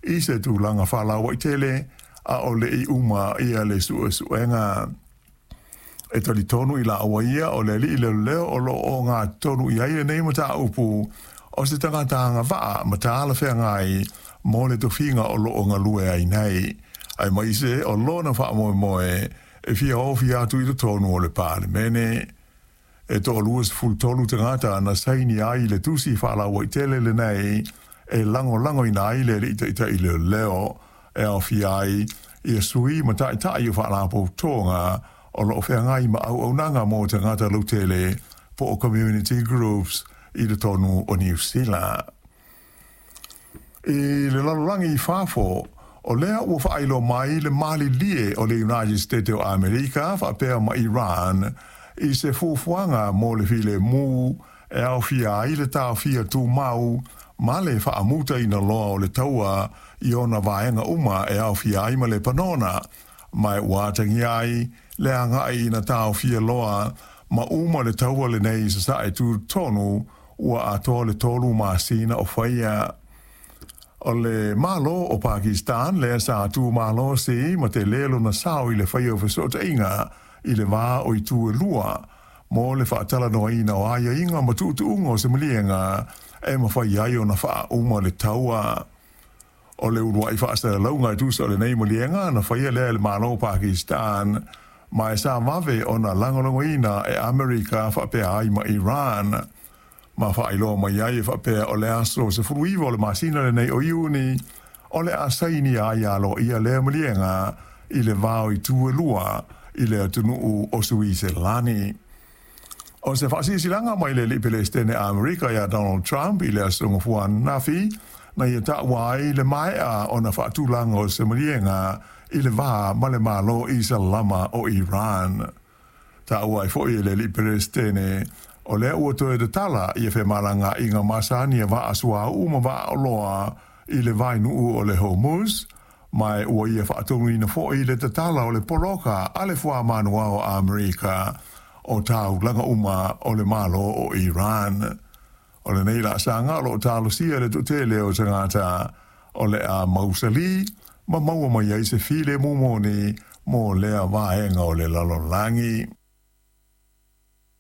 i se tulaga faalauaitele a o le i uma ia le suesuega. E talitonu i laua ia o le alii leoleo o lo o ogatotonu i ai lenei mataupu o se tagata agavaa ma talafeagai mo le tofiga o lo o galue ai nei, aemaise o lona faamoemoe e fia ofi atu i totonu o le Palemene. E toa-23 tagata na saini ai le tusi faalauaitele lenei e lagolagoina ai le alii taitai leoleo, e aofia ai ia sui ma taitai o faalapotopotoga o lo o feagai ma auaunaga mo tagata lautele po o community groups i totonu o Niu Sila. I le lalolagi i fafo, o lea ua faailoa mai le malilie o le United States o Amerika faapea ma Iran i se fuafuaga mo le filemu e aofia ai le taofia tumau ma le faamutaina loa o le taua i ona vaega uma e aofia ai ma Lepanona, ma ua atagia ai le agai ina taofia loa ma uma le taua lenei i sasae tutotonu ua atoa le 3 masina o faia. O le Malo o Pakistan lea sa tumalosi ma tele lona sao i le faia o fesootaiga i le va o itu e lua mo le faatalanoaina o aiaiga ma tuutuuga o se maliega e mafai ai ona faauma le taua. O le uluai faasalalauga e tusa o lenei maliega na faia lea e le Malo o Pakistan, ma e sa vave ona lagolagoina e Amerika faapea ai ma Iran, ma faailoa mai ai e faapea o le aso 19 o le masina lenei o Iuni o le a sainia ai aloaia lea maliega i le va o itu e lua i le atunuu o Suiselani. O se faasilasilaga mai le alii Pelestene Amerika ia Donald Trump i le aso Gafua ananafi na ia taua ai le maea ona faatulaga o se maliega i le va ma le Malo Isalama o Iran. Taua ai foi e le alii Pelestene o lea ua toe tatala ia femalagaaiga masani a vaa suauu ma vaa oloa i le vainuu o le Hormuz, ma ua ia faatonuina foi le tatala o le poloka a le fuamanua o Amerika o taulaga uma o le Malo o Iran. O lenei laasaga o loo talosia le toatele o tagata o le a mausali ma maua mai ai se filemu moni mo lea vaega o le lalolagi.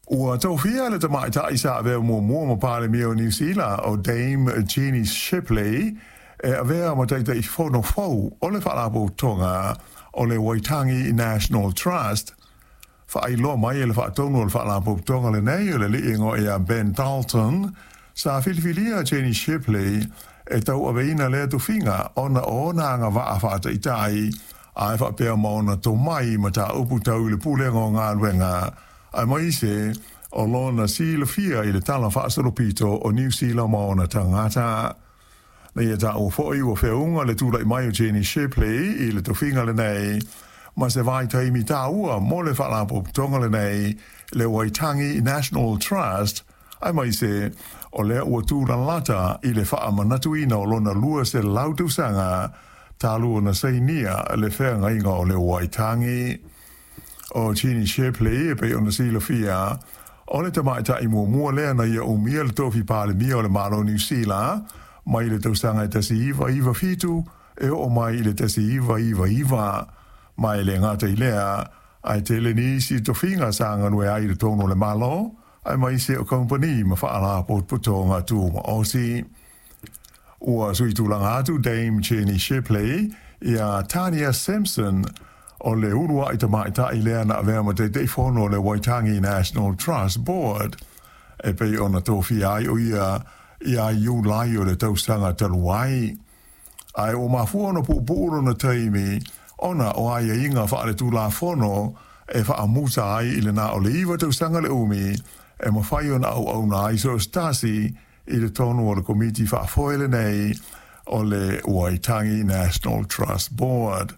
Ua tofia le tamaitai sa avea muamua ma Palemia o Niu Sila o Dame Jenny Shipley e avea ma Taitaifono fou o le Faalapotopotoga o le Waitangi National Trust. Faailoa mai e le faatonu o le Faalapotopotoga lenei o le alii igoa ia Ben Dalton, sa filifilia Jenny Shipley e tauaveina lea tofiga ona o ona agavaa faataitai ae faapea ma ona tomai mataupu tau i le pulega o galuega, aemaise o lona silafia i le tala faasolopito o Niu Sila ma ona tagata. Na ia taua foi ua feauga le tulai mai o Jenny Shipley i le tofiga lenei ma se vaitaimi taua mo le Faalapotopotoga lenei le Waitangi National Trust, aemaise o lea ua tulalata i le faamanatuina o lona 200 tausaga talu ona sainia le feagaiga o le Waitangi. O Jenny Shipley, e pei ona silafia, o le tamaitai muamua lea na ia umia le tofi Palemia o le Malo Niu Sila mai le tausaga e 1997 e oo mai i le 1999, ma e le gata i lea ae tele nisi tofiga sa galue ai i totonu o le Malo aemaise o kamupani ma faalapotopotoga tumaoti. Ua sui tulaga atu Dame Jenny Shipley ia Tania Simpson, o le uluai tamaitai lea na avea ma Taitaifono o le Waitangi National Trust Board, e pei ona tofia ai o ia ia Iulai o le tausaga talu ai. Ae ua mafua ona puupuu lona taimi ona o aiaiga faaletulafono e faamuta ai i le na o le 9 tausaga le umi e mafai ona auauna ai so o se tasi i totonu o le komiti faafoe lenei o le Waitangi National Trust Board.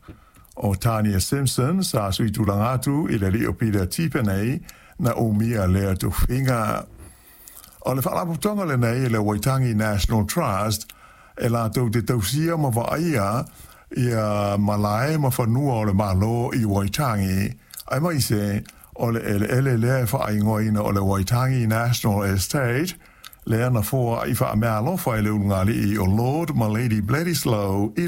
O Tania Simpson sa sui tulaga atu i le alii o Peter Tipene na umia lea tofiga. O le faalapotopotoga lenei le Waitangi National Trust e latou te tausia ma vaaia ia malae ma fanua o le Malo i Waitangi, aemaise o le eleele lea e faaigoaina o le Waitangi National Estate, lea na foai faameaalofa e le ulugalii o Lord ma Lady Bledisloe i